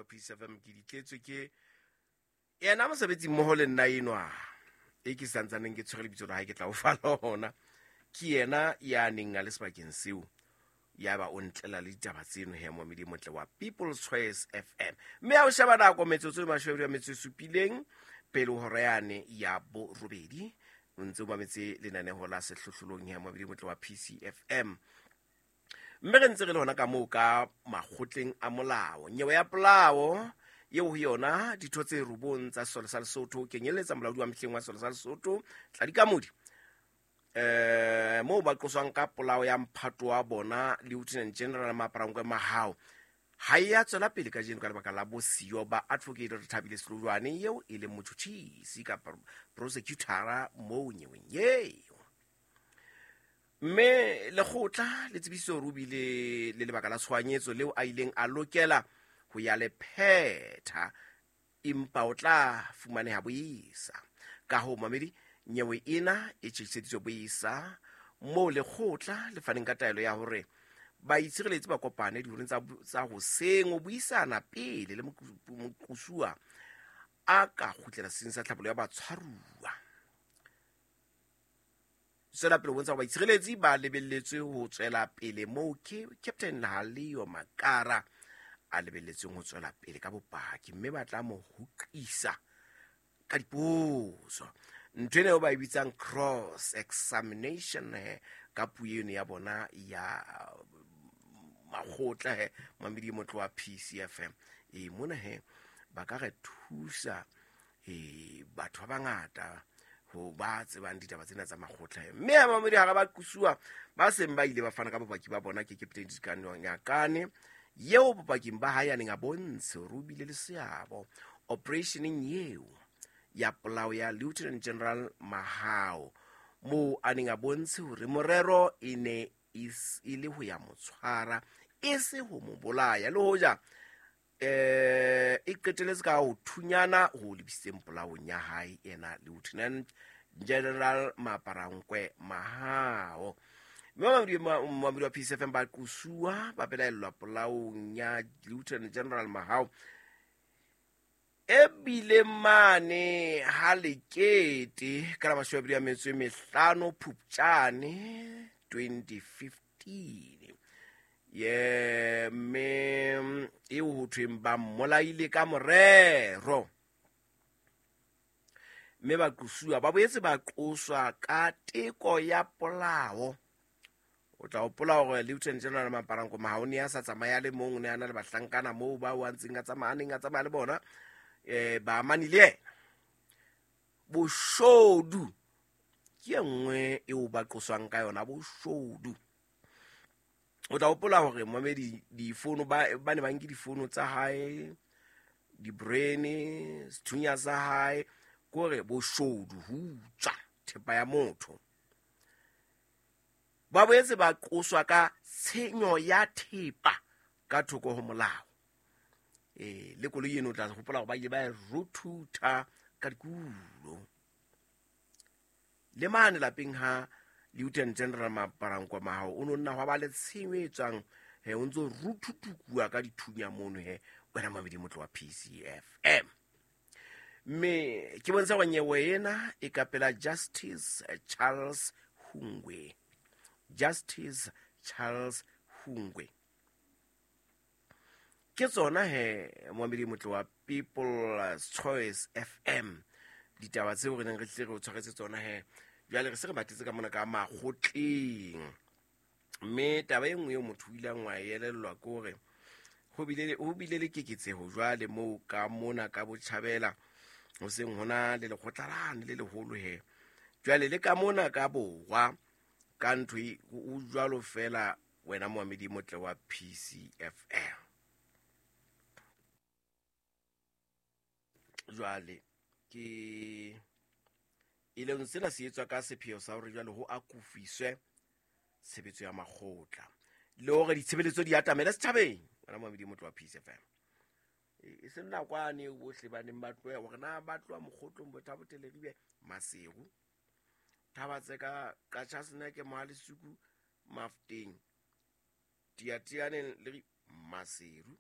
wa Peace FM ke di tletswe ke yena mosebetsi mmoho le nna enwa e ke santsaneng ke tshwere lebitso la hae ke tla o fa lona. Ke yena ya neng a le sebakeng seo, ya ba o ntlela le ditaba tseno he, momedi motle wa People's Choice FM. Mme ha o sheba nako, metsotso e mashome a metso e supileng pele hora yane ya borobedi, o ntse o mametse lenaneho la Sehlohlolong he, momedi motle wa PCFM. Mme re ntse re le hona ka moo ka makgotleng a molao. Nyewe ya polao eo ho yona ditho tse robong tsa sesole sa Lesotho, kenyelletsa molaodi wa mehleng wa sesole sa Lesotho Tladikamodi, moo ba qoswang ka polao ya mphato wa bona Lieutenant General Maparankwe Mahao, ha e ya tswela pele kajeno ka lebaka la bosiyo ba Advocate Rethabile Selojwane, eo e leng motjhutjhisi kapa prosecutora moo nyeweng eo. Mme lekgotla le tsebisitse hore o bile le lebaka la tshohanyetso leo a ileng a lokela ho ya le phetha, empa o tla fumaneha boisa. Ka hoo mamedi, nyewe ena e tjhetjhiseditswe boisa, moo lekgotla le faneng ka taelo ya hore baitshireletsi ba kopane dihoreng tsa hoseng ho buisana pele le moqosuwa a ka kgutlela seng sa tlhabollo ya batshwaruwa. Tswela pele ho bontsha hore baitshireletsi ba lebelletswe ho tswela pele moo ke Captain Halio Makara a lebelletsweng ho tswela pele ka bopaki, mme ba tla mo hoqisa ka dipotso, ntho ena eo ba e bitsang cross examination he ka puo eno ya bona ya makgotla he, mamedi motlo wa PCFM. E mona he ba ka re thusa e batho ba bangata ho ba tsebang ditaba tsena tsa makgotla. Mme ha mamedi hara ba qosuwa ba seng ba ile ba fana ka bopaki ba bona ke Captain Dikano Nyakane, eo bopaking ba hae a neng a bontshe hore o bile le seabo operationeng eo ya polao ya Lieutenant General Mahao, moo a neng a bontshe hore morero e ne e le ho ya mo tshwara, e se ho mo bolaya, le hoja e qeteletse ka ho thunyana ho lebisitseng polaong ya hae ena Lieutenant General Maparankwe Mahao. Mme mamedi wa PCFM, ba qosuwa ba belaellwa polaong ya Lieutenant General Mahao e bile mane ha lekete ka la 25 Phupjane 2015 ye, mme eo ho thweng ba mmolaile ka morero. Mme baqosuwa ba boetse ba qoswa ka teko ya polao. O tla hopola hore Lieutenant General Maparanko Mahao ne a sa tsamaya le mong, o ne a na le bahlankana moo ba o a ntseng a tsamaya, a neng a tsamaya le bona, ba amane le yena. Boshodu ke e nngwe eo ba qoswang ka yona, boshodu. O tla hopola hore mamedi difono ba ne ba nke difono tsa hae, di-brain, sethunya sa hae, kore boshodu, ho utswa thepa ya motho. Ba boetse ba qoswa ka tshenyo ya thepa ka thoko ho molao. Le koloi eno o tla hopola hore ba ile ba e ruthutha ka dikulo. Le mane lapeng ha Lieutenant General Maparankwe Mahao o no nna hwa ba le tshenyo e tswang he, o ntso ruthutukuwa ka dithunya mono he, wena mamedi motlo wa PCFM. Mme ke bontsha hore nyewe ena e ka pela Justice Charles Hungwe. Justice Charles Hungwe. Ke tsona he, moamedi motlo wa People's Choice FM, ditaba tseo re neng re tlile re o tshwaretse tsona he. Jwale re se re matetse ka mona ka makgotleng, mme taba e nngwe eo motho o ileng wa e elellwa ke hore ho bile le keketseho jwale moo ka mona ka botjhabela ho seng hona le lekgotla lane le leholo he. Jwale le ka mona ka borwa ka ntho e, o jwalo fela wena moamedi motle wa PCFM. Jwale ke e leng sena se etswa ka sepheo sa hore jwale ho akofiswe tshebetso ya makgotla le hore ditshebeletso di atamele setjhabeng, wena moamedi motle wa PCFM. E seng nakwane eo bohle ba neng ba tloha hore na ba tloha mokgotlong Bothabo Teleribe Maseru Thabatseka Qachaseneke Mohalesuku Mafteng Tiatianeng le Maseru.